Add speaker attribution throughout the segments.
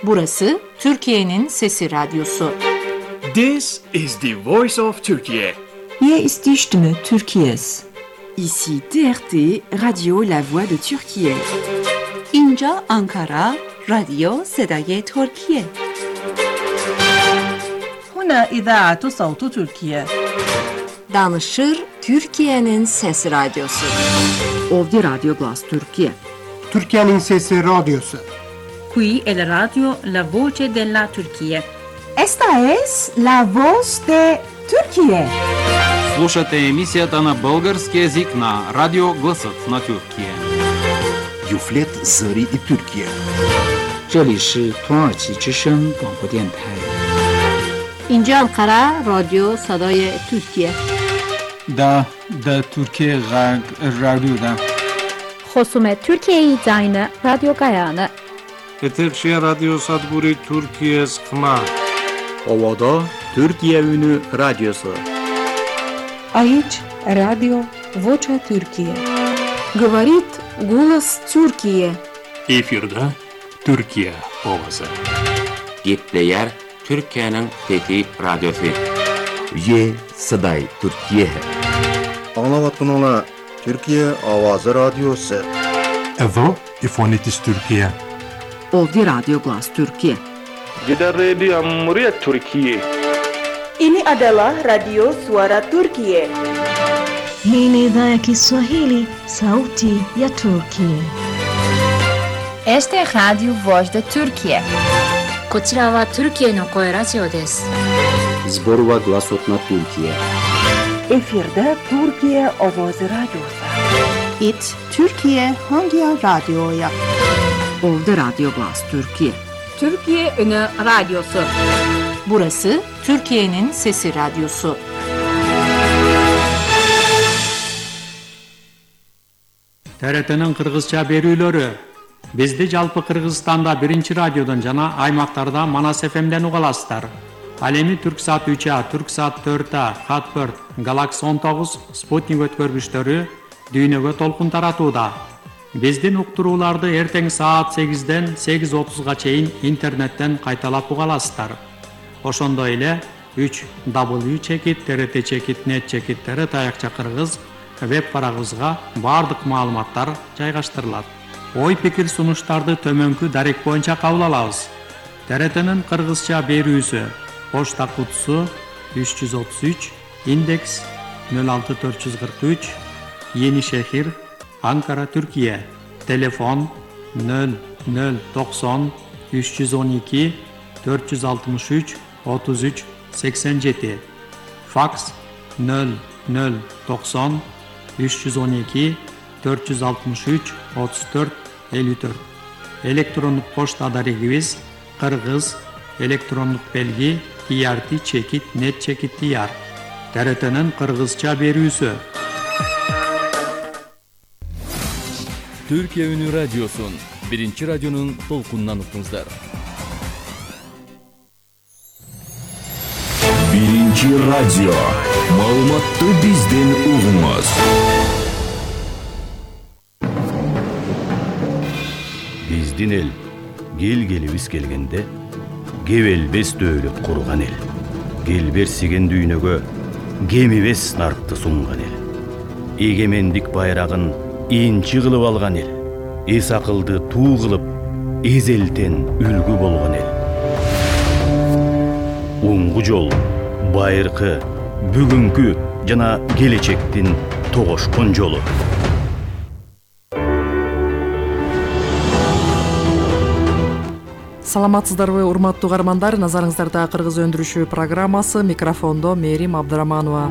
Speaker 1: Burası Türkiye'nin Sesi Radyosu.
Speaker 2: This is the voice of Turkey.
Speaker 3: Hier ist die Stimme Türkiye's.
Speaker 4: Ici TRT, Radio La Voix de Türkiye.
Speaker 1: İnca Ankara, Radyo Sedaye Türkiye.
Speaker 5: هنا إذاعة صوت تركيا.
Speaker 1: Danışır Türkiye'nin Sesi Radyosu.
Speaker 4: Ovdje Radio Glas Türkiye.
Speaker 6: Türkiye'nin Sesi Radyosu.
Speaker 5: Qui è la radio La Voce della Turchia.
Speaker 3: Esta es la voz de Türkiye.
Speaker 7: Слушате емисията на български език на Радио Гласът на Тюркия.
Speaker 8: Юфлет Зари и Тюркия.
Speaker 9: 这里是土耳其之声广播电台。
Speaker 1: İnca Ankara, Radyo Sedaye Türkiye.
Speaker 10: Da Türkiye Radyo'da.
Speaker 11: Хоsumet Türkiye Zayne Radyo Gayane.
Speaker 12: Eterşehir Radyo Sadburi Türkiye Skma.
Speaker 13: Ovada Türkiye Ünü Radyosu.
Speaker 3: Aici Radio Vocea Türkiye.
Speaker 1: Говорит голос Türkiye.
Speaker 14: Efirde Türkiye ovası.
Speaker 15: Gitleyer Türkiye'nin Fethi Radyosu.
Speaker 8: Ye Saday Türkiye.
Speaker 16: Anlavatınala Türkiye Avazı Radyosu.
Speaker 17: Evo İfonitis Türkiye.
Speaker 4: Ovdje Radio Glas Türkiye.
Speaker 12: Gider Radio Cumhuriyet Türkiye.
Speaker 18: Ini adalah Radio Suara Turkiye.
Speaker 19: Hii ni idhaa ya Kiswahili, sauti ya Turkiye.
Speaker 20: Este es Radio Voz de Turkiye.
Speaker 21: こちらはトルキエの声ラジオです。
Speaker 13: Zborova Glasot na Türkiye.
Speaker 18: Efirde Türkiye Avazı Radyosu.
Speaker 3: It Türkiye hangi radyoya?
Speaker 4: Ovdje Radio Glas Türkiye.
Speaker 1: Türkiye Ünü Radyosu. Burası Türkiye'nin Sesi Radyosu.
Speaker 7: TRT'nin Kırgızça berүүлөрү. Bizdi жалпы Кыргызстанда биринчи радиодон жана аймактарда Манас ФМден уга аласыздар. Ал эми Түрксат 3А, Түрксат 4А, Хатберт, Галакс 19, Спутник өткөргүчтөрү дүйнөгө толкун таратууда. Биздин уктурууларды эртең саат 8ден 8:30га чейин интернеттен кайталап уга аласыздар. Ошондой эле 3w.trt.net таякча кыргыз веб барагыбызга бардык маалыматтар жайгаштырылат. Ой пикир сунуштарды төмөнкү дарек боюнча кабыл алабыз. ТРТнын кыргызча берүүсү почта кутусу 333 индекс 06443 Yenişehir, Ankara, Türkiye. Telefon 0090 312 463 33 87. Faks 0090 312 463 34 54. Elektronik poçta adresimiz Kırgız elektronik belgi trt.net.tr. TRT'nin Kırgızça berүүsü.
Speaker 22: Türkiye Ünü Radyosun, birinci radyonun толкунунан уктуңуздар.
Speaker 8: Birinci radyo, маалыматты бизден угуңуз.
Speaker 22: Биздин эл, келгелибиз келгенде, кебелбес дөөлөт курган эл. Келберсиген дүйнөгө, кемибес наркты сунган эл. Эгемендик байрагын инчи кылып алган эл. Эс акылды туу кылып, эзелтен үлгү болгон эл. Оңгу жол, байыркы, бүгүнкү жана келечектин тогошкон жолу.
Speaker 23: Саламатсыздарбы, урматтуу угармандар, назарыңыздарда кыргыз өндүрүшү программасы, микрофондо Мерим Абдыраманова.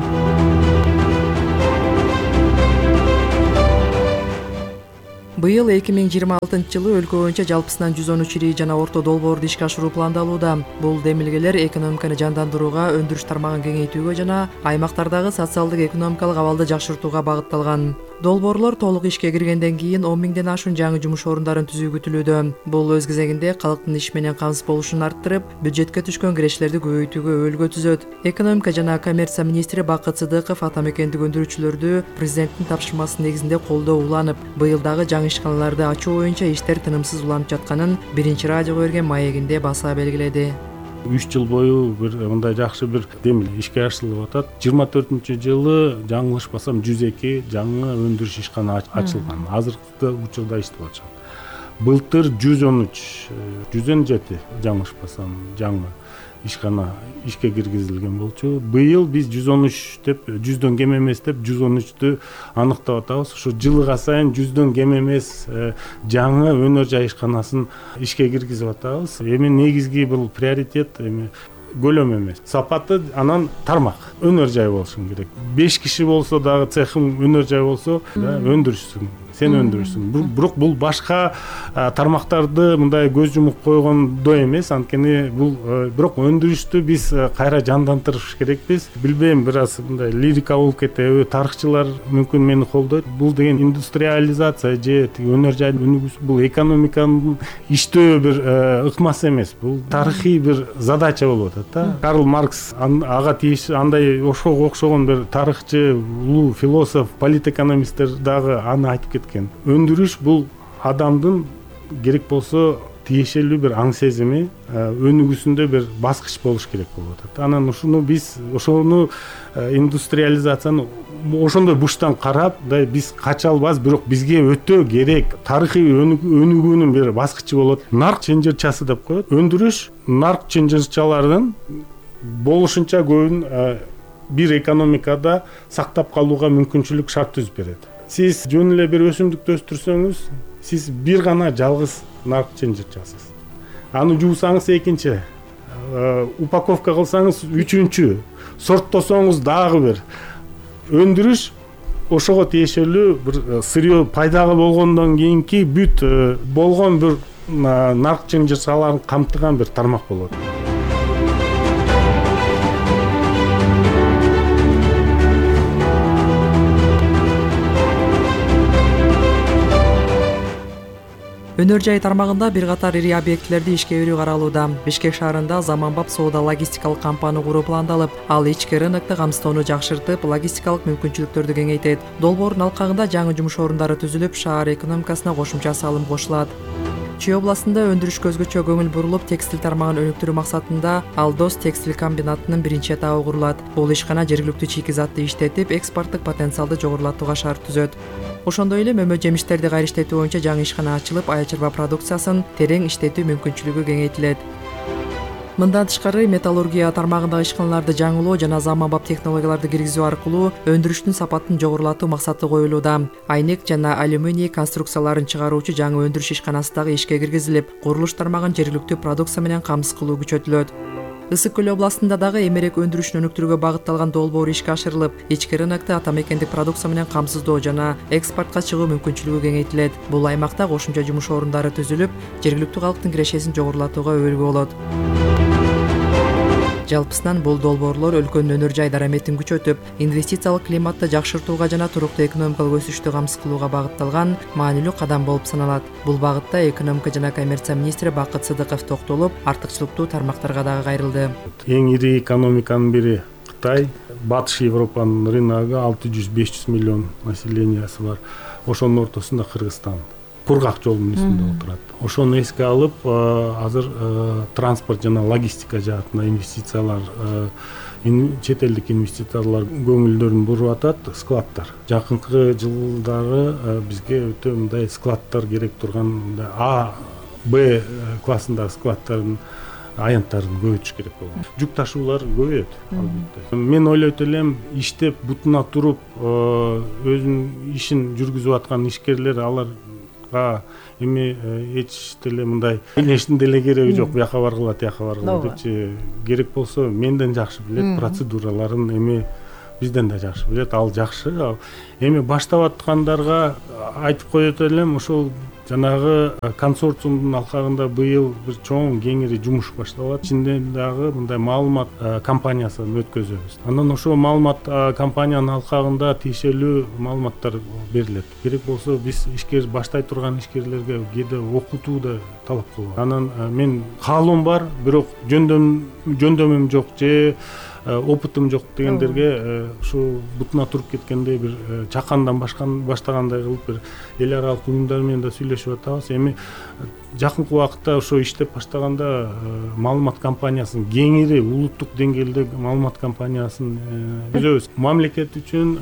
Speaker 23: Быйыл 2026-жылы өлкө боюнча жалпысынан 113 ири жана орто долбоорду ишке ашыруу пландалууда. Бул демилгелер экономиканы жандандырууга, өндүрүш тармагын кеңейтүүгө жана аймактардагы социалдык экономикалык абалды жакшыртууга багытталган. Долбоорлор толук ишке киргенден кийин 10 миңден ашуун жаңы жумуш орундарын түзүү күтүлүүдө. Бул өз кезегинде калктын иш менен камсыз болушун арттырып, бюджетке түшкөн кирештерди көбөйтүүгө өөлгө түзөт. Экономика жана коммерция министри Бакыт Сыдыков ата мекендик өндүрүүчүлөрдү президенттин тапшырмасы негизинде колдоо уланып, быйыл дагы жаңы ишканаларды ачуу боюнча иштер тынымсыз уланып жатканын Биринчи радиого берген маегинде баса белгиледи.
Speaker 2: 3 жыл бою бир мындай жакшы бир демиле ишке ашырылып атат. 24-жылы жаңылышпасам 102 жаңы өндүрүш ишкана ачылган. Азыркы учурда иштеп атышат. Былтыр 117 жаңылышпасам жаңы ишкана ишке киргизилген болчу. Быйыл биз 113 деп 100дөн кем эмес деп 113тү аныктап атабыз. Ушу жылга сайын 100дөн кем эмес жаңы өнөр жай ишканасын ишке киргизип атабыз. Эми негизги бул приоритет эми көлөм эмес, сапаты, анан тармак өнөр жай болушу керек. 5 киши болсо дагы цехым өнөр жай болсо өндүрүшсүң, сен өндүрүшсүң. Бирок бул башка тармактарды мындай көз жумуп койгондой эмес, анткени бул бирок өндүрүштү биз кайра жандандырыш керекпиз. Билбейм, бир аз мындай лирика болуп кетеби, тарыхчылар мүмкүн мени колдойт. Бул деген индустриализация же өнөр жай өнүгүүсү бул экономиканын иштөө бир ыкмасы эмес. Бул тарыхый бир задача болуп атат. Карл Маркс ага тийиштүү андай ошого окшогон бир тарыхчы, улуу философ, политэкономисттер дагы аны айтып кеткен. Өндүрүш бул адамдын керек болсо тиешелүү бир аң сезими, өнүгүүсүндө бир баскыч болуш керек болуп атат. Анан ошону индустриализацияны ошондой бурчтан карап, биз кача албайбыз, бирок бизге өтө керек тарыхый өнүгүүнүн бир баскычы болот. Нарк чынжырчасы деп коет. Өндүрүш нарк чынжырчалардын болушунча көбүн бир экономикада сактап калууга мүмкүнчүлүк шарт түзүп берет. Сиз жөн эле бир өсүмдүктү өстүрсөңүз, сиз бир гана жалгыз нарк чынжырчасыз. Аны жуусаңыз экинчи, упаковка кылсаңыз үчүнчү, сорттосоңуз дагы бир. Өндүрүш ошого тиешелүү бир сырьё пайда болгондон кийинки бүт болгон бир нарк чынжырчаларын камтыган бир тармак болот.
Speaker 23: Өнөр жай тармагында бир катар ири объектилерди ишке берүү каралууда. Бишкек шаарында заманбап соода логистикалык кампаны куруу пландалып, ал ички рынокто камсыздоону жакшыртып, логистикалык мүмкүнчүлүктөрдү кеңейтет. Долбоордун алкагында жаңы жумуш орундары түзүлүп, шаар экономикасына кошумча салым кошулат. Чүй областында өндүрүш көзгөчө көңүл бурулуп, текстиль тармагын өнүктүрүү максатында Алдос текстиль комбинатынын биринчи этабы курулат. Бул ишкана жергиликтүү чийки затты иштетип, экспорттук потенциалды жогорулатууга шарт түзөт. Ошондой эле мөмө жемиштерди кайра иштетүү боюнча жаңы ишкана ачылып, ая чарба продукциясын терең иштетүү мүмкүнчүлүгү кеңейтилет. Мындан тышкары металлургия тармагындагы ишканаларды жаңылоо жана заманбап технологияларды киргизүү аркылуу өндүрүштүн сапатын жогорулатуу максаты коюлууда. Айнек жана алюминий конструкцияларын чыгаруучу жаңы өндүрүш ишканасы дагы ишке киргизилип, курулуш тармагын жергиликтүү продукция менен камсыз кылуу күчөтүлөт. Ысык көл областында дагы эмерек өндүрүшүн өнүктүрүүгө багытталган долбоор ишке ашырылып, ички рынокто ата мекендик продукция менен камсыздоо жана экспортко чыгуу мүмкүнчүлүгү кеңейтилет. Бул аймакта кошумча жумуш орундары түзүлүп, жергиликтүү калктын кирешесин жогорулатууга өбөлгө болот. Жалпысынан бул долбоорлор өлкөнүн өнөр жай дараметин күчөтүп, инвестициялык климатты жакшыртууга жана туруктуу экономикалык өсүштү камсыз кылууга багытталган маанилүү кадам болуп саналат. Бул багытта экономика жана коммерция министри Бакыт Сыдыков токтолуп, артыкчылыктуу тармактарга дагы кайрылды.
Speaker 2: Эң ири экономиканын бири Кытай, Батыш Европанын рыногу 600-500 миллион населениясы бар. Ошонун ортосунда Кыргызстан кургак жолдун үстүндө отурат. Ошону эске алып, азыр транспорт жана логистика жаатына инвестициялар, чет элдик инвестициялар көңүлдөрүн буруп атат. Складдар. Жакынкы жылдары бизге өтө мындай складдар керек турган А, Б классындагы складдардын аянттарын көбөйтүш керек болот. Жүк ташуулар көбөйөт албетте. Мен ойлойт элем, иштеп бутуна туруп, өзүнүн ишин жүргүзүп аткан ишкерлер алар эми эч деле мындай эчтин деле кереги жок, бияка баргыла, тияка баргыла депчи. Керек болсо менден жакшы билет процедураларын, эми бизден да жакшы билет, ал жакшы. Эми баштап аткандарга айтып коет элем, ошол жанагы консорциумдун алкагында быйыл бир чоң кеңири жумуш башталат. Ичинде дагы мындай маалымат компаниясын өткөзөбүз. Андан ошол маалымат компаниянын алкагында тиешелүү маалыматтар берилет. Керек болсо биз ишкер баштай турган ишкерлерге кээде окутуу да талап кылабыз. Анан мен каалоом бар, бирок жөндөмүм жок же опытым жок дегендерге ушу бутуна туруп кеткендей бир чакандан баштагандай кылып бир эл аралык уюмдар менен да сүйлөшүп атабыз. Эми жакынкы убакытта ошо иштеп баштаганда маалымат кампаниясын кеңири улуттук деңгээлде маалымат кампаниясын түзөбүз. Мамлекет үчүн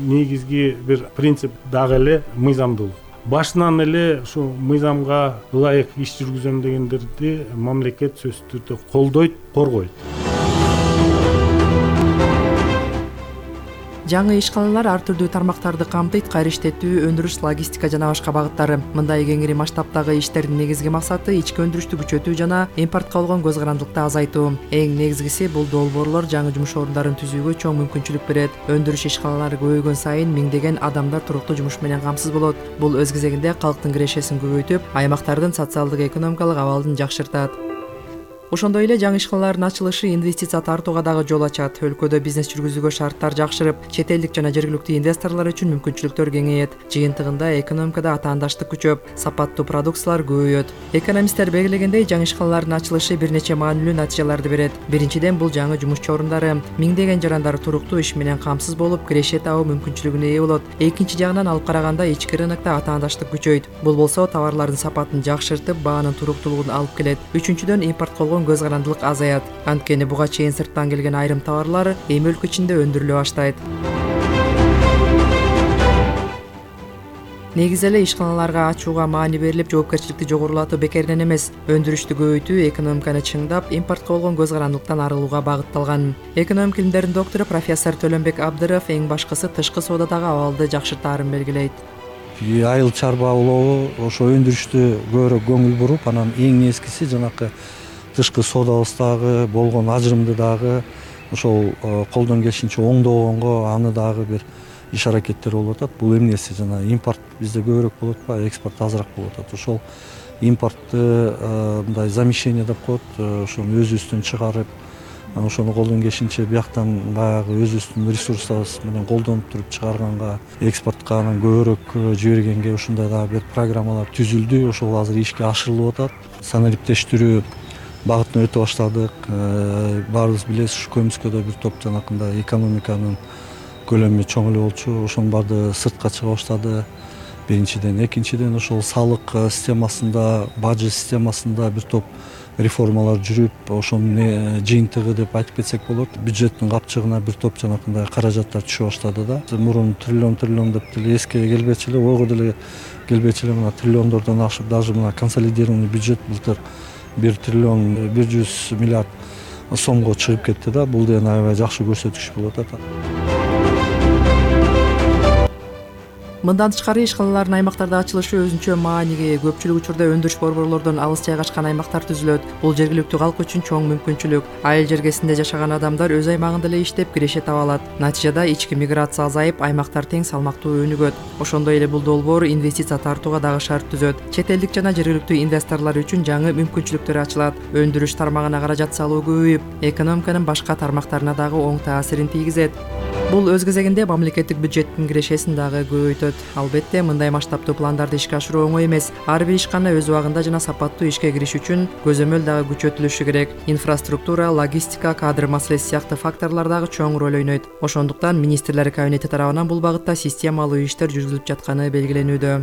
Speaker 2: негизги бир принцип дагы эле мыйзамдуулук. Башынан эле ушу мыйзамга ылайык иш жүргүзөм дегендерди мамлекет сөзсүз түрдө колдойт, коргойт.
Speaker 23: Жаңы ишканалар ар түрдүү тармактарды камтыйт: кайра иштетүү, өндүрүш, логистика жана башка багыттары. Мындай кеңири масштабтагы иштердин негизги максаты ички өндүрүштү күчөтүү жана импортко болгон көз карандылыкты азайтуу. Эң негизгиси бул долбоорлор жаңы жумуш орундарын түзүүгө чоң мүмкүнчүлүк берет. Өндүрүш ишканалары көбөйгөн сайын миңдеген адамдар туруктуу жумуш менен камсыз болот. Бул өз кезегинде калктын кирешесин көбөйтүп, аймактардын социалдык экономикалык абалын жакшыртат. Ошондой эле жаңы ишканалардын ачылышы инвестиция тартууга дагы жол ачат. Өлкөдө бизнес жүргүзүүгө шарттар жакшырып, чет элдик жана жергиликтүү инвесторлор үчүн мүмкүнчүлүктөр кеңейет. Жыйынтыгында экономикада атаандаштык күчөп, сапаттуу продукциялар көбөйөт. Экономисттер белгилегендей, жаңы ишканалардын ачылышы бир нече маанилүү натыйжаларды берет. Биринчиден, бул жаңы жумушчу орундары миңдеген жарандар туруктуу иш менен камсыз болуп, киреше табуу мүмкүнчүлүгүнө ээ болот. Экинчи жагынан алып караганда ички рынокто атаандаштык күчөйт. Бул болсо товарлардын сапатын жакшыртып, баанын туруктуулугун алып келет. Үчүнчүдөн, импортко болгон көз карандылык азаят. Анткени буга чейин сырттан келген айрым товарлар эми өлкө ичинде өндүрүлө баштайт. Негизи эле ишканаларга ачууга маани берилип, жоопкерчиликти жогорулатуу бекеринен эмес, өндүрүштү көбөйтүү, экономиканы чыңдап, импортко болгон көз карандылыктан арылууга багытталган. Экономика илимдеринин доктору профессор Төлөнбек Абдыров эң башкысы тышкы соодадагы абалды жакшыртаарын белгилейт.
Speaker 5: Айыл чарба улоо ошо өндүрүштү көбүрөөк көңүл буруп, анан эң нескиси жанакы тышкы соодабыздагы болгон ажырымды дагы ошол колдон келишинче оңдогонго, аны дагы бир иш аракеттер болуп атат. Бул эмнеси жана импорт бизде көбүрөөк болуп атпайбы, экспорт азыраак болуп атат. Ошол импортты мындай замещение деп коет, ошону өзүбүздөн чыгарып, ошону колдон келишинче бияктан баягы өзүбүздүн ресурсубуз менен колдонуп туруп чыгарганга, экспортко анан көбүрөөк жибергенге ушундай дагы бир программалар түзүлдү. Ошол азыр ишке ашырылып атат. Санариптештирүү багытына өтө баштадык. Баарыбыз билебиз, ушу Көмүскөдө бир топ жанакындай экономиканын көлөмү чоң эле болчу. Ошонун баары сыртка чыга баштады. Биринчиден, экинчиден ошол салык системасында, бажы системасында бир топ реформалар жүрүп, ошонун жыйынтыгы деп айтып кетсек болот. Бюджеттин капчыгына бир топ жанакындай каражаттар түшө баштады да. Мурун триллион деп деле эске келбечү эле, ойго деле келбечү эле, мына триллиондордон ашып, даже мына консолидированный бюджет былтыр 1 триллион 100 миллиард сомго чыгып кетти да. Бул деген аябай жакшы көрсөткүч болуп атат.
Speaker 23: Мындан тышкары ишканалардын аймактарда ачылышы өзүнчө мааниге ээ. Көпчүлүк учурда өндүрүш борборлордон алыс жайгашкан аймактар түзүлөт. Бул жергиликтүү калк үчүн чоң мүмкүнчүлүк. Айыл жергесинде жашаган адамдар өз аймагында эле иштеп, киреше таба алат. Натыйжада ички миграция азайып, аймактар тең салмактуу өнүгөт. Ошондой эле бул долбоор инвестиция тартууга дагы шарт түзөт. Чет элдик жана жергиликтүү инвесторлор үчүн жаңы мүмкүнчүлүктөр ачылат. Өндүрүш тармагына каражат салуу көбөйүп, экономиканын башка тармактарына дагы оң таасирин тийгизет. Бул өз кезегинде мамлекеттик бюджеттин кирешесин дагы көбөйтөт. Албетте, мындай масштабтуу пландарды ишке ашыруу оңой эмес. Ар бир ишкана өз убагында жана сапаттуу ишке кириш үчүн көзөмөл дагы күчөтүлүшү керек. Инфраструктура, логистика, кадр маселеси сыяктуу факторлор дагы чоң роль ойнойт. Ошондуктан министрлер кабинети тарабынан бул багытта системалуу иштер жүргүзүлүп жатканы белгиленүүдө.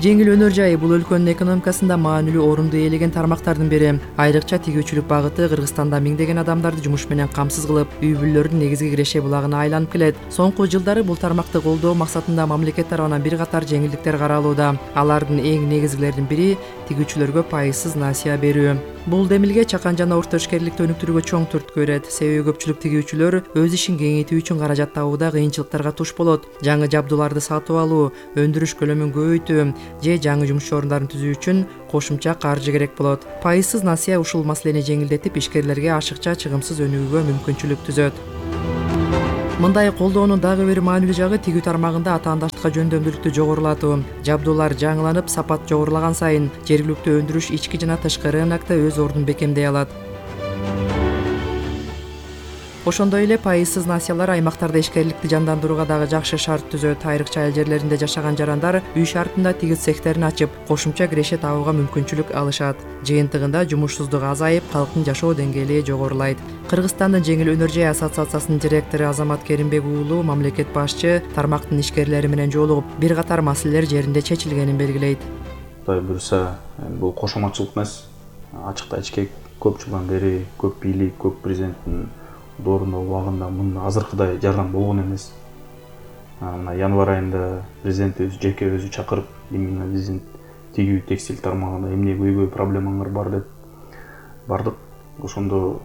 Speaker 23: Жеңил өнөр жайы бул өлкөнүн экономикасында маанилүү орунду ээлеген тармактардын бири. Айрыкча тигүүчүлүк багыты Кыргызстанда миңдеген адамдарды жумуш менен камсыз кылып, үй бүлөлөрдүн негизги киреше булагына айланып келет. Соңку жылдары бул тармакты колдоо максатында мамлекет тарабынан бир катар жеңилдиктер каралууда. Алардын эң негизгилеринин бири тигүүчүлөргө пайызсыз насыя берүү. Бул демилге чакан жана орто ишкерликти өнүктүрүүгө чоң түрткү берет. Себеби көпчүлүк тигүүчүлөр өз ишин кеңейтүү үчүн каражат табууда кыйынчылыктарга туш болот. Жаңы жабдууларды сатып алуу, өндүрүш көлөмүн көбөйтүү же жаңы жумуш орундарын түзүү үчүн кошумча каржы керек болот. Пайызсыз насыя ушул маселени жеңилдетип, ишкерлерге ашыкча чыгымсыз өнүгүүгө мүмкүнчүлүк түзөт. Мындай колдоонун дагы бир маанилүү жагы тигүү тармагында атаандаштыкка жөндөмдүүлүктү жогорулатуу. Жабдуулар жаңыланып, сапат жогорулаган сайын жергиликтүү өндүрүш ички жана тышкы рынокто өз ордун бекемдей алат. Ошондой эле пайызсыз насыялар аймактарда ишкерликти жандандырууга дагы жакшы шарт түзөт. Айрыкча айыл жерлеринде жашаган жарандар үй шартында тигиз цехтерин ачып, кошумча киреше табууга мүмкүнчүлүк алышат. Жыйынтыгында жумушсуздук азайып, калктын жашоо деңгээли жогорулайт. Кыргызстандын жеңил өнөр жай ассоциациясынын директору Азамат Керимбек уулу мамлекет башчы тармактын ишкерлери менен жолугуп, бир катар маселелер жеринде чечилгенин белгилейт.
Speaker 6: Кудай буюрса, бул кошоматчылык эмес, ачыкта ичке көп жылдан бери көп бийлик, көп президенттин доорундоо убагында мында азыркыдай жардам болгон эмес. Мына январь айында президент өзү жеке өзү чакырып, именно биздин тигүү текстиль тармагында эмне көйгөй проблемаңар бар деп бардык. Ошондо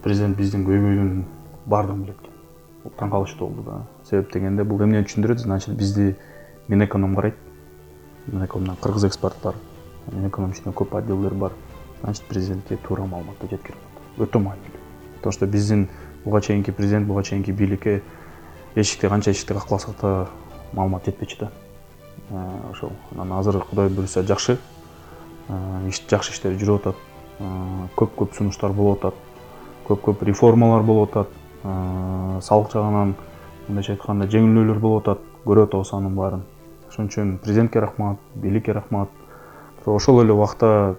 Speaker 6: президент биздин көйгөйдүн баардыгын билет экен. Таң калыштуу болду да. Себеп дегенде бул эмнени түшүндүрөт? Значит, бизди Минэконом карайт. Минэкономдон кыргыз экспорт бар. Минэконом ичинде көп отделдер бар. Значит, президентке туура маалыматты жеткирип атат. Өтө маанилүү. Потому что биздин буга чейинки президент, буга чейинки бийликке эшикти канча эшикти какласак да маалымат жетпечү да. Ошол. Анан азыр Кудай буюрса жакшы. Жакшы иштер жүрүп атат. Көп сунуштар болуп атат. Көп реформалар болуп атат. Салык жагынан мындайча айтканда жеңилдөөлөр болуп атат. Көрүп атабыз анын баарын. Ошон үчүн президентке рахмат, бийликке рахмат. Ошол эле убакта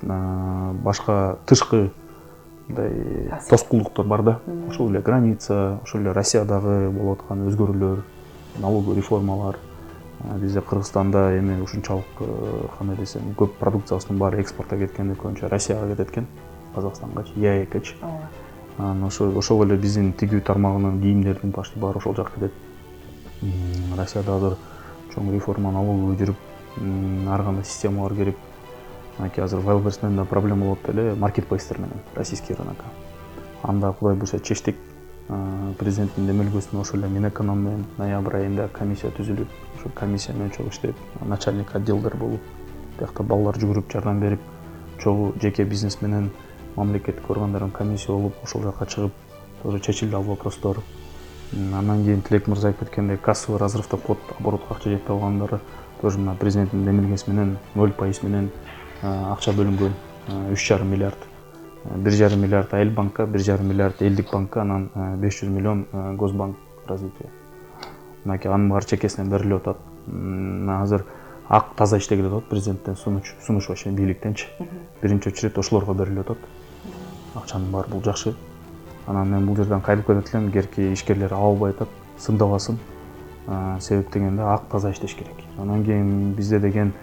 Speaker 6: башка тышкы мындай тоскоолдуктар бар да. Ошол эле граница, ошол эле Россиядагы болуп аткан өзгөрүүлөр, налоговый реформалар. Бизде Кыргызстанда эми ушунчалык кандай десем, көп продукциябыздын баары экспортко кеткенде көбүнчө Россияга кетет экен, Казакстангачы, ЯЭКчи. Ошол эле биздин тигүү тармагынын кийимдердин почти баары ошол жака кетет. Россияда азыр чоң реформа налоговый жүрүп, ар кандай системалар кирип, азыр Wildberries'да проблема болуп эле маркетплейстер менен российский рынокко. Анда Кудай буюрса чечтик. Президенттин демелгөсүнө ошол эле Минэконом менен ноябрь айында комиссия түзүлүп, ошол комиссия менен чогуу иштеп, начальник отделдер болуп, биякта балдар жүгүрүп жардам берип, чогуу жеке бизнес менен мамлекеттик органдардын комиссия болуп, ошол жака чыгып, тоже чечилди ал вопростор. Андан кийин Тилек мырза айтып кеткендей, кассовый разрывда код оборотко акча жетпей калгандары тоже мына президенттин демилгеси менен 0% менен акча бөлүнгөн, 3,5 миллиард. 1,5 миллиард Айыл банкка, 1,5 миллиард Элдик банкка, анан 500 миллион Госбанк развитие. Мынакей анын баары чекесинен берилип атат. Азыр ак таза иштегиле атат президенттен сунуш вообще бийликтенчи. Биринчи очередь ошолорго берилип атат. Акчанын баары бул жакшы. Анан мен бул жерден кайтып кетет элем, эгерки ишкерлер албай атат, сындабасын. Себеп дегенде ак таза иштеш керек. Анан кийин бизде деген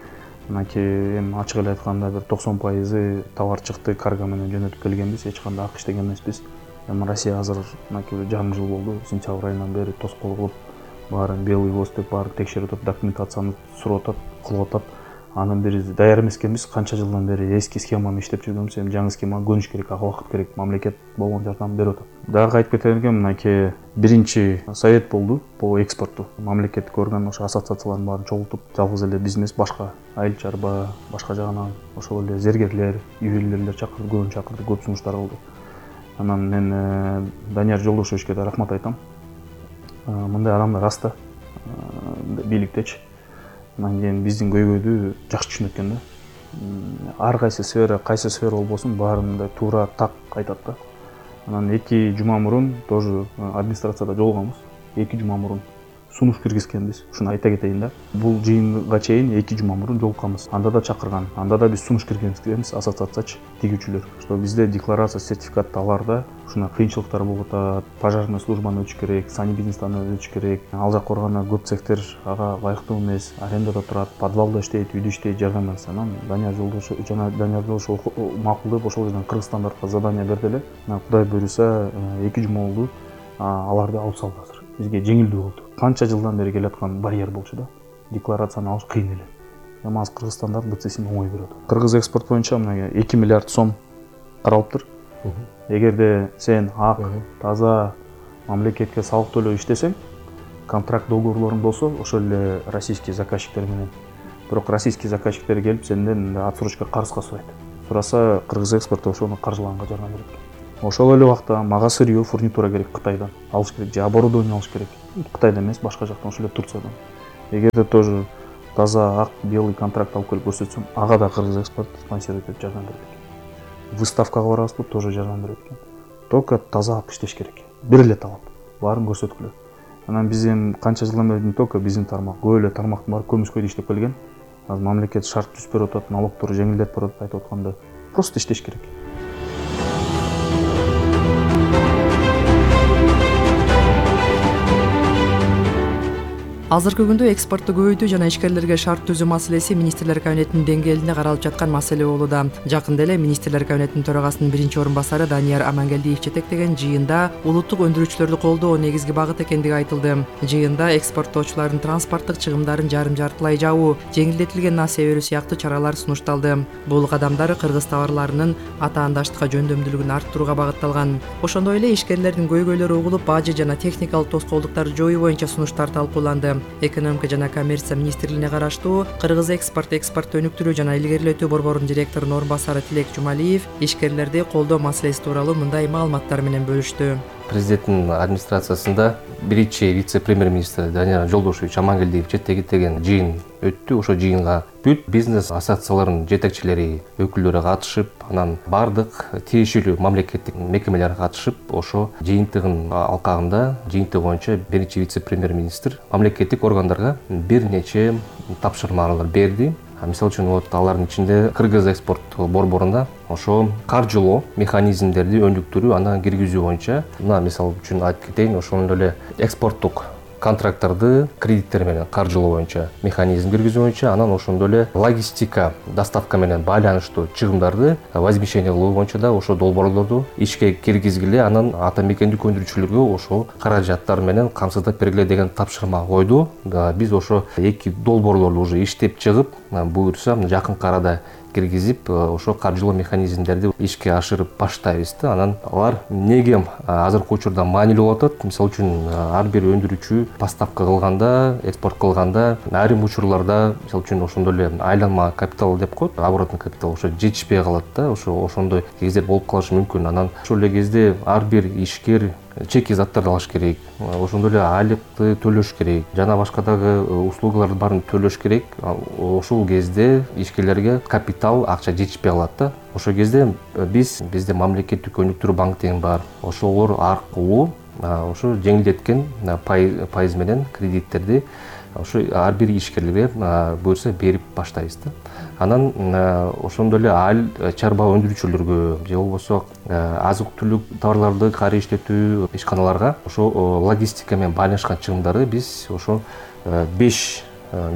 Speaker 6: мынакей эми ачык эле айтканда бир 90% товар чыкты, карго менен жөнөтүп келгенбиз, эч кандай ак иштеген эмеспиз. Эми Россия азыр мынакей жарым жыл болду, сентябрь айынан бери тоскоол кылып, баарын белый лист деп баарын текшерип атат, документацияны сурап атат, кылып атат. Анан бери даяр эмес экенбиз, канча жылдан бери эски схеманы иштеп жүргөнбүз, эми жаңы схемага көнүш керек, ага убакыт керек, мамлекет болгон жардам берип атат. Дагы айтып кетер элем, мынакей биринчи совет болду по экспорту. Мамлекеттик орган ошо ассоциациялардын баарын чогултуп, жалгыз эле биз эмес, башка айыл чарба, башка жагынан ошол эле зергерлер, ювелирлер чакырды, көбүн чакырды, көп сунуштар кылды. Анан мен Данияр Жолдошевичке да рахмат айтам. Мындай адамдар аста бийликтечи. Анан кийин биздин көйгөйдү жакшы түшүнөт экен да. Ар кайсы сфера болбосун, баарын мындай туура так айтат да. Анан 2 жума мурун тоже администрацияда жолугабыз. 2 жума мурун сунуш киргизгенбиз. Ушуну айта кетейин да. Бул жыйынга чейин 2 жума мурун жолукканбыз. Анда да чакырган. Анда да биз сунуш киргизгенбиз, ассоциациячы, тигүүчүлөр. Что бизде декларация, сертификат аларда ушуна кыйынчылыктар болуп атат. Пожарный службаны өтүш керек, санибизнестан өтүш керек. Ал жак барганда көп цехтер ага ылайыктуу эмес, арендада турат, подвалда иштейт, үйдө иштейт, жардам берсе. Анан Данияр Жолдошев макулдап ошол жерден Кыргызстандардагы задание берди эле. Кудай буюрса 2 жума болду. Аларды алып салды азыр. Бизге жеңилдүү болду. Канча жылдан бери келаткан барьер болчу да. Декларацияны алыш кыйын эле. Эми азыр Кыргызстандар БЦСин оңой берет. Кыргыз экспорт боюнча мына 2 миллиард сом каралыптыр. Эгерде сен ак, таза мамлекетке салык төлөп иштесең, контракт договорлоруң болсо, ошол эле российский заказчиктер менен. Бирок российский заказчиктер келип сенден отсрочка карызга сурайт. Сураса Кыргыз экспорт ошону каржылаганга жардам берет. Ошол эле убакта мага сырье, фурнитура керек Кытайдан. Алыш керек, же оборудование алыш керек. Кытайдан эмес, башка жактан, ошол эле Турциядан. Эгерде тоже таза ак, белый контракт алып келип көрсөтсөм, ага да Кыргыз экспорт спонсировать этип жардам берет экен. Выставкага барабызбы, тоже жардам берет экен. Только таза ак иштеш керек. бир эле талап, баарын көрсөткүлө. Анан биз эми канча жылдан бери не только биздин тармак, көп эле тармактын баары көмүскөйдө иштеп келген. Азыр мамлекет шарт түзүп берип атат, налогторду жеңилдетип берип атат айтып атканда. Просто иштеш керек.
Speaker 23: Азыркы күндө экспортду көбөйтүү жана ишкерлерге шарт түзүү маселеси министрлер кабинетинин деңгээлинде каралып жаткан маселе болууда. Жакында эле министрлер кабинетинин төрагасынын биринчи орун басары Данияр Амангелдиев жетектеген жыйында улуттук өндүрүүчүлөрдү колдоо негизги багыт экендиги айтылды. Жыйында экспорттоочулардын транспорттук чыгымдарын жарым-жартылай жабуу, жеңилдетилген насыя берүү сыяктуу чаралар сунушталды. Бул кадамдар кыргыз товарларынын атаандаштыкка жөндөмдүүлүгүн арттырууга багытталган. Ошондой эле ишкерлердин көйгөйлөрү угулуп, бажы жана техникалык тоскоолдуктарды жоюу боюнча сунуштар талкууланды. Экономика жана коммерция министрлигине караштуу Кыргыз экспорт өнүктүрүү жана илгерилетүү борборунун директорунун орун басары Тилек Жумалиев ишкерлерди колдоо маселеси тууралуу мындай маалыматтар менен бөлүштү.
Speaker 9: Президенттин администрациясында биринчи вице-премьер-министр Данияр Жолдошевич Амангелдиев жетектеген жыйын өттү. Ошо жыйынга бүт бизнес ассоциацияларынын жетекчилери, өкүлдөрү катышып, анан бардык тиешелүү мамлекеттик мекемелер катышып, ошо жыйынтыгын алкагында жыйынтык боюнча биринчи вице-премьер-министр мамлекеттик органдарга бир нече тапшырмалар берди. Мисалы үчүн алардын ичинде Кыргыз экспорт борборуна ошо каржылоо механизмдерди өнүктүрүү, аны киргизүү боюнча, мына мисалы үчүн айтып кетейин, ошондой эле экспорттук контракттарды кредиттер менен каржылоо боюнча механизм киргизүү боюнча, анан ошондой эле логистика, доставка менен байланыштуу чыгымдарды возмещение кылуу боюнча да ошо долбоорлорду ишке киргизгиле, анан ата мекендик өндүрүүчүлөргө ошо каражаттар менен камсыздап бергиле деген тапшырма койду. Биз ошо эки долбоорлорду уже иштеп чыгып, буюрса жакынкы арада киргизип, ошо каржылоо механизмдерди ишке ашырып баштайбыз да. Анан алар эмнеге азыркы учурда маанилүү болуп атат? Мисалы үчүн ар бир өндүрүүчү поставка кылганда, экспорт кылганда айрым учурларда, мисалы үчүн ошондой эле айланма капитал деп коет, оборотный капитал ошо жетишпей калат да. Ошондой кездер болуп калышы мүмкүн. Анан ошол эле кезде ар бир ишкер чеки заттарды алыш керек, ошондой эле айлыкты төлөш керек, жана башка дагы услугаларды баарын төлөш керек. Ошол кезде ишкерлерге капитал, акча жетишпей калат да. Ошол кезде бизде мамлекеттик өнүктүрүү банк деген бар. Ошолор аркылуу ошо жеңилдеткен пайыз менен кредиттерди ошо ар бир ишкерлерге буюрса берип баштайбыз да. Анан ошондой эле чарба өндүрүүчүлөргө же болбосо азык-түлүк товарларды кайра иштетүү ишканаларга ошо логистика менен байланышкан чыгымдарды биз ошо 5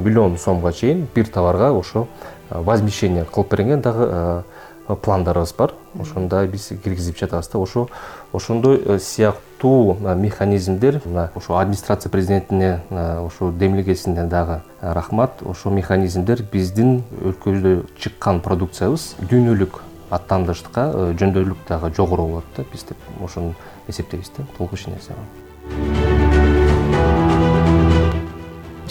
Speaker 9: миллион сомго чейин бир товарга ошо возмещение кылып берген дагы пландарыбыз бар. Ошондой биз киргизип жатабыз да. Ошондой сыяктуу механизмдер, ошо администрация президентине ошо демилгесине дагы рахмат. Ошо механизмдер биздин өлкөбүздө чыккан продукциябыз дүйнөлүк аттандаштыкка жөндөмдүүлүк дагы жогору болот да. Биз деп ошону эсептейбиз да. Толук иш нерсе.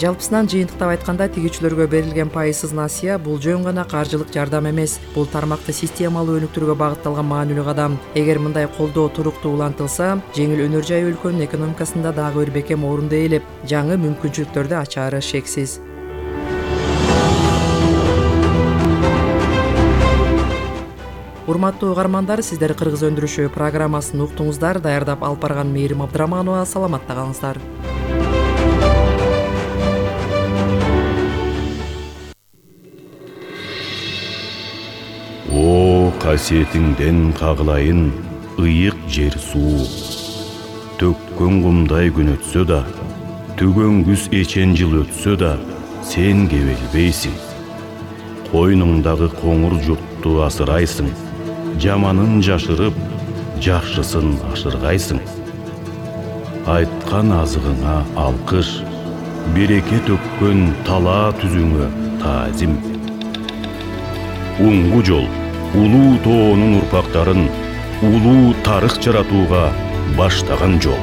Speaker 23: Жалпысынан жыйынтыктап айтканда, тигүүчүлөргө берилген пайызсыз насыя бул жөн гана каржылык жардам эмес, бул тармакты системалуу өнүктүрүүгө багытталган маанилүү кадам. Эгер мындай колдоо туруктуу улантылса, жеңил өнөр жай өлкөнүн экономикасында дагы бир бекем орунду ээлеп, жаңы мүмкүнчүлүктөрдү ачаары шексиз. Урматтуу угармандар, сиздер Кыргыз өндүрүшү программасын уктуңуздар. Даярдап алып барган Мээрим Абдыраманова. Саламатта калыңыздар.
Speaker 10: Касиетиңден кагылайын ыйык жер суу. Төккөн кумдай күн өтсө да, түгөн күз эчен жыл өтсө да, сен кебелбейсиң. Койнуңдагы коңур журтту асырайсың, жаманын жашырып, жакшысын ашыргайсың. Айткан азыгыңа алкыш, береке төккөн талаа түзүңө таазим. Уңгу жол улуу тоонун урпактарын улуу тарых жаратууга баштаган жол.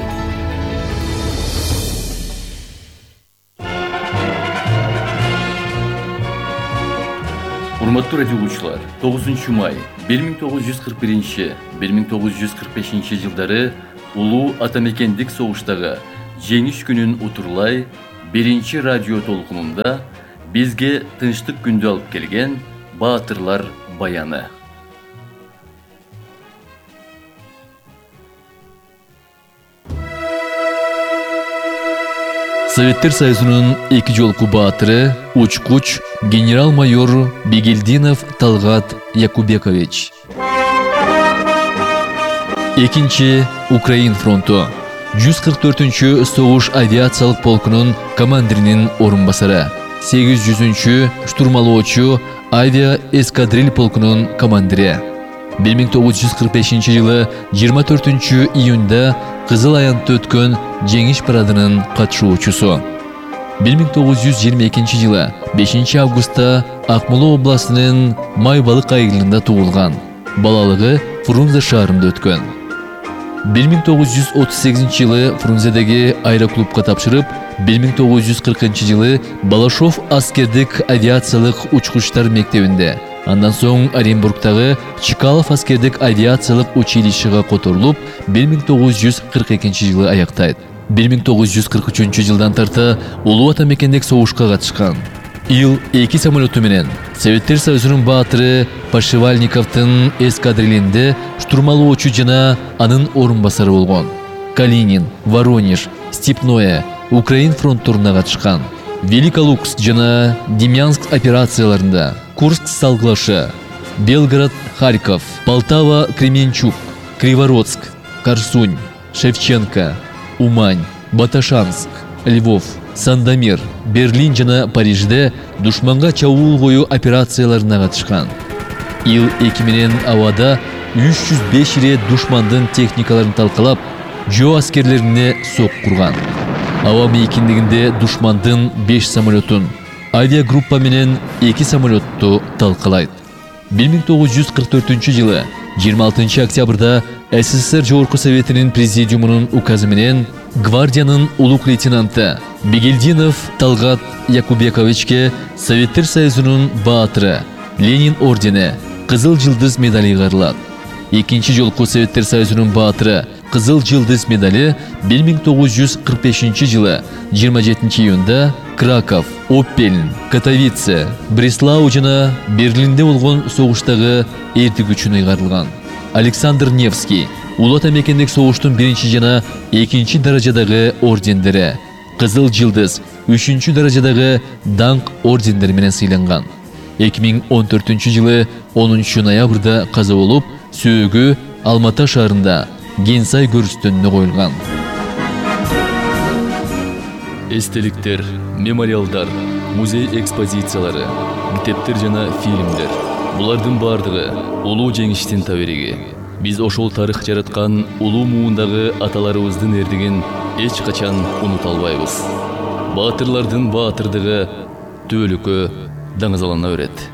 Speaker 22: Урматтуу радио угуучулар, 9 май 1941-1945 жылдары улуу атамекендик согуштагы жеңиш күнүн утурлай биринчи радио толкунунда бизге тынчтык күндү алып келген баатырлар баяны. Советтер Союзунун 2 жолку баатыры, учкуч генерал-майор Бегелдинов Талгат Якубекович. Экинчи Украин фронту. 144-чү согуш авиациялык полкунун командиринин орун басары. 800-чү штурмалоочу авиа эскадриль полкунун командири. 1945-жылы 24-июнда Кызыл аянтта өткөн жеңиш парадынын катышуучусу. 1922-жылы 5-августта Акмола областынын Майбалык айылында туулган. Балалыгы Фрунзе шаарында өткөн. 1938-жылы Фрунзедеги аэроклубка тапшырып, 1940-жылы Балашов аскердик авиациялык учкучтар мектебинде, андан соң Оренбургтагы Чкалов аскердик авиациялык училищеге которулуп, 1942-жылы аяктайт. 1943-жылдан тарта Улуу Ата мекендик согушка катышкан. Ил-2 самолету менен Советтер Союзунун баатыры Пашевальниковдун эскадрилинде штурмалоочу жана анын орун басары болгон. Калинин, Воронеж, Степное, Украин фронтторуна катышкан. Великолукск жана Демьянск операцияларында, Курск Салглашы, Белгород, Харьков, Полтава, Кременчук, Кривородск, Корсунь, Шевченко, Умань, Баташанск, Львов, Сандомир, Берлин жана Парижде душманга чабуул коюу операцияларына катышкан. Ил-2 менен абада 305 ирет душмандын техникаларын талкалап, жөө аскерлерине сок курган. Аба мейкиндигинде душмандын 5 самолетун, авиагруппа менен 2 самолетту талкалайт. 1944-жылы 26 октябрда СССР Жогорку Советинин президиумунун указы менен гвардиянын улук лейтенанты Бегелдинов Талгат Якубековичке Советтер Союзунун баатыры, Ленин ордени, Кызыл жылдыз медали кайрылат. Экинчи жолку Советтер Союзунун баатыры Кызыл жылдыз медали 1945-жылы 27 июнда Краков, Оппельн, Катовице, Бреслау жана Берлинде болгон согуштагы эрдик үчүн ыйгарылган. Александр Невский Улуу Ата мекендик согуштун 1 жана 2 даражадагы ордендери, Кызыл жылдыз 3 даражадагы даңк ордендери менен сыйланган. 2014-жылы 10 ноябрда каза болуп, сөөгү Алматы шаарында Генсай көрүстөнүнө коюлган. Эстеликтер, мемориалдар, музей экспозициялары, китептер жана фильмдер. Булардын бардыгы улуу жеңиштин табириги. Биз ошол тарых жараткан улуу муундагы аталарыбыздын эрдигин эч качан унута албайбыз. Баатырлардын баатырдыгы түбөлүккө даңазалана берет.